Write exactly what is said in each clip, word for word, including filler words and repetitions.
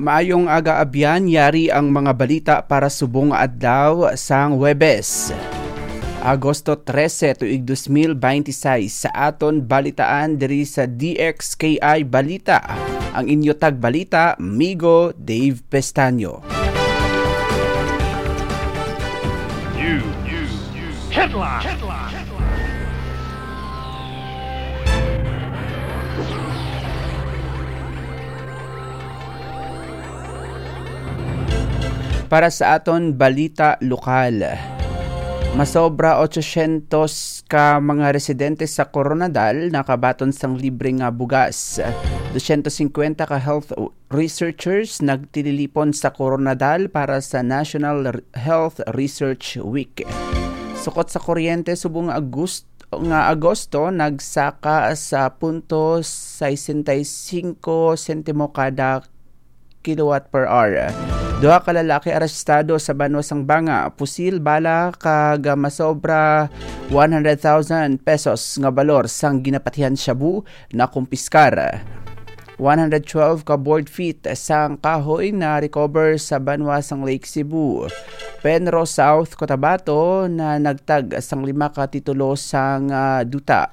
Maayong aga, abyan, yari ang mga balita para subong nga adlaw sang Huwebes, Agosto trese, tuig dos mil beintiseis. Sa aton balitaan diri sa D X K I Balita, ang inyo tagbalita, Migo Dave Pestaño. News. Headline. Para sa aton balita lokal, masobra otsosyentos ka mga residente sa Koronadal nakabaton sang libre nga bugas. Dosyentos singkwenta ka health researchers nagtililipon sa Koronadal para sa National R-, Health Research Week. Sukot sa kuryente, subong nga Agust-, nga Agosto, nagsaka sa punto sesenta y cinco sentimo kada kilowatt per hour. Duha ka lalaki arestado sa banwa sang Banga, pusil, bala, kag masobra one hundred thousand pesos nga balor sang ginapatihan shabu nakumpiskar. One hundred twelve ka board feet sang kahoy na recover sa banwa sang Lake Cebu. Penro, South Cotabato, na nagtag sang lima ka titulo sang, ah, duta.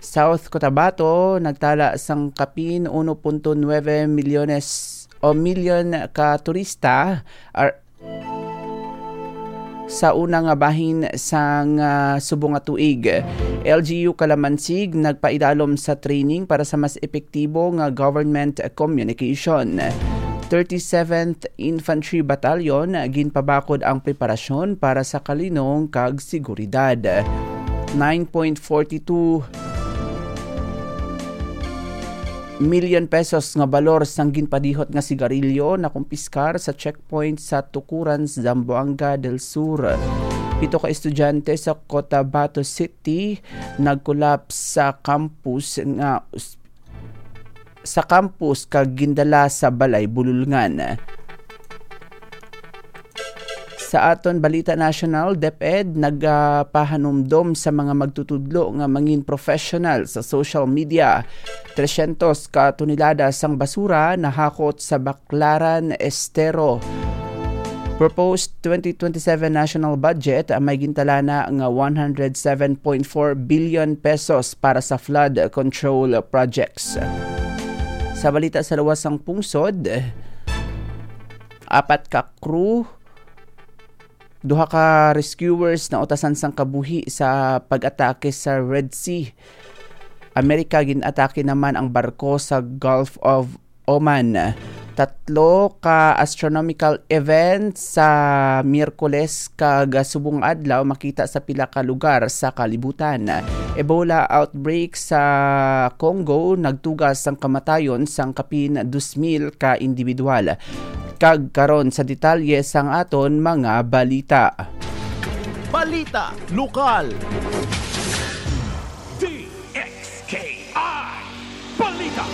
South Cotabato nagtala sang kapin uno punto nuebe milyones o milyon ka turista, ar-, sa una nga bahin sang, ah, subong nga tuig. L G U Calamansig nagpaidalom sa training para sa mas epektibo nga government communication. Thirty-seventh Infantry Battalion, ginpabakod ang preparasyon para sa kalinong kag seguridad. Nine point forty two million pesos nga balor sang ginpadihot nga sigarilyo nakumpiskar sa checkpoint sa Tukuran, Zamboanga del Sur. Pito ka estudyante sa Cotabato City nagkulaps sa campus nga, sa campus kag gindala sa balay bululngan. Sa aton balita nasyonal, DepEd nagapahanumdom sa mga magtutudlo nga mangin professional sa social media. Tresyentos ka tonelada sang basura nahakot sa Baclaran Estero. Proposed twenty twenty-seven national budget may gintalana nga one hundred seven point four billion pesos para sa flood control projects. Sa balita sa luwas sang pungsod, apat ka crew, duha ka rescuers nautasan sang kabuhi sa pag-atake sa Red Sea. Amerika, gin-atake naman ang barko sa Gulf of Oman. Tatlo ka astronomical events sa Miyerkules kag subong adlaw makita sa pila ka lugar sa kalibutan. Ebola outbreak sa Congo nagtuga sang kamatayon sang kapin dos mil ka individual. Kag karon sa detalye sang aton mga balita. Balita lokal. D X K I Balita.